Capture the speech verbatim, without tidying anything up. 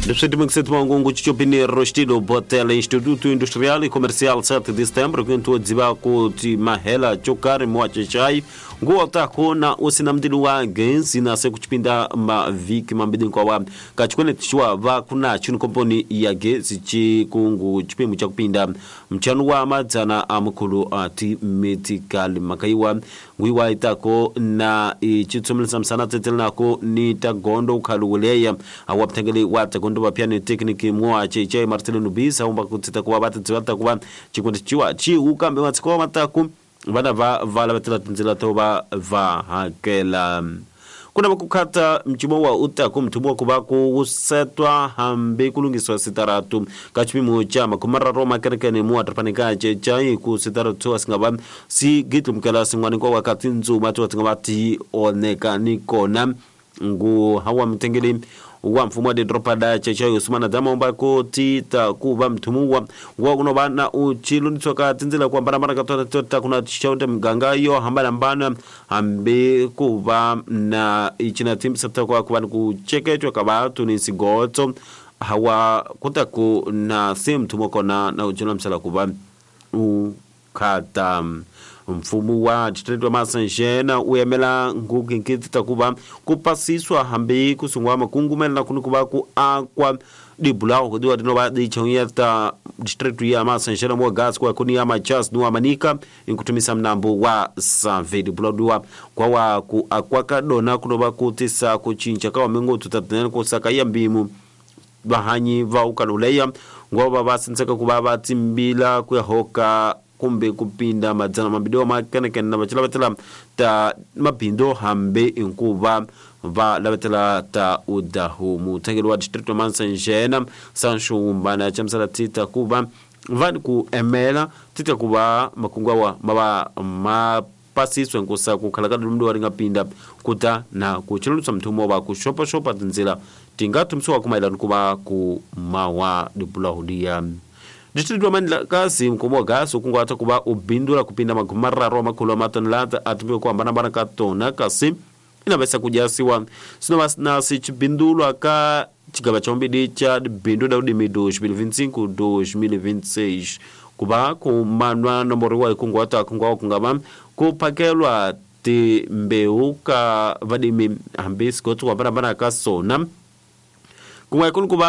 Leswi Chopini Rostilo Botel Instituto Industrial e Comercial sete de Setembro quinto dziba ku ti mahela chokari mwachechai nguwa takona usinamdilu wa gensi na se kuchipinda maviki mambidi kwa kachikone tishwa va kuna chinu komponi ya gesi chikungu chipimu cha kupinda mchanu wa madzana amukulu ati metikali makaiwa ngwiwa itako na ichitsumilisa msana tetele nako ni tagondo ukhaluwuleya awapthengeli wa tagondo vapyani tekniki mwa cheichai Marcelino Nubisa umba kutsita kuva vatidziva kuva chikundi chiwa chiukambe matsiko mataku vana va vala vatela tindzela to va va hakela kuna vakukhata mchimo wa utaku mthumo wa kuva ku setwa hambi kulungiswa sitaratu ka chipimo cha makhumararo makerekene mu atrapanika chechai ku sitaratu asingava si gitlumukela sin'wana kwa wakati ndzuma tiwa ti nga va ti oneka ni kona ngu hawa mtengeli wa mfumo wa didropa da chechai Usmana Dama ku tita kuva mthumuwa wa kunova na uchilundiswa ka tindzela ku hambanahambana ka tona ta kuna xonta miganga yo hambanahambana hambi ku va na ichina timbisa ta ku va ni ku cheketwa ka vatu ni sigotso hawa kuta ku na se mthumo kona na uchilamisela ku va u khata mfumo wa distrito wa Masanjena u yemela ngukinkiti ta kuva ku pasiswa hambi ku sungula makungumelela kuni kuva ku akwa dibulawo kudiwa tinova dichonyeta distrito ya Masanjena mo gas kwa kuni ya Machas nuwa Manika inkutumisa mnambo wa Save dibulawo kwa wa ku akwa kadona kunova kutisa kuchincha kawa mengo tutatenene kusaka ya mbimu vahanyi va ukaluleya ngova vasintseka kuva vatimbila kuyahoka kumbe kupinda madzana mambili wa makenekene na vachilavatela ta mabindo hambi inkuva va lavetela ta udahu muthengeli wa distrito wa Mansanjena Sancho Umbana chamisala tita kuva vani ku emela tita kuva makungu awa mava mapasiswe nkusa kukhala ka lumdu wa ringa pinda kuta na kuchilulusa mthumo wa kuxopaxopa tindzila tingathumisiwa kumayelana kuva ku mawa dibulahudiya distrito wa Mandlakazi mkomo wa gasi ukunguhata kuva ubindula kupinda magumararo makhulu a matonelata atumbiwe ku hambanahambana ka tona kasi inavesa kudyasiwa sinova na sichibindulwa ka chigava cha umbili cha bindu da udimi dois mil vinte e cinco dois mil vinte e seis kuva kumanwa nomboro wa ikunguhata kunguwa kungava kuphakelwa timbewu ka vadimi hambi sigotso ku hambanahambana ka sona kun'we kuni kuva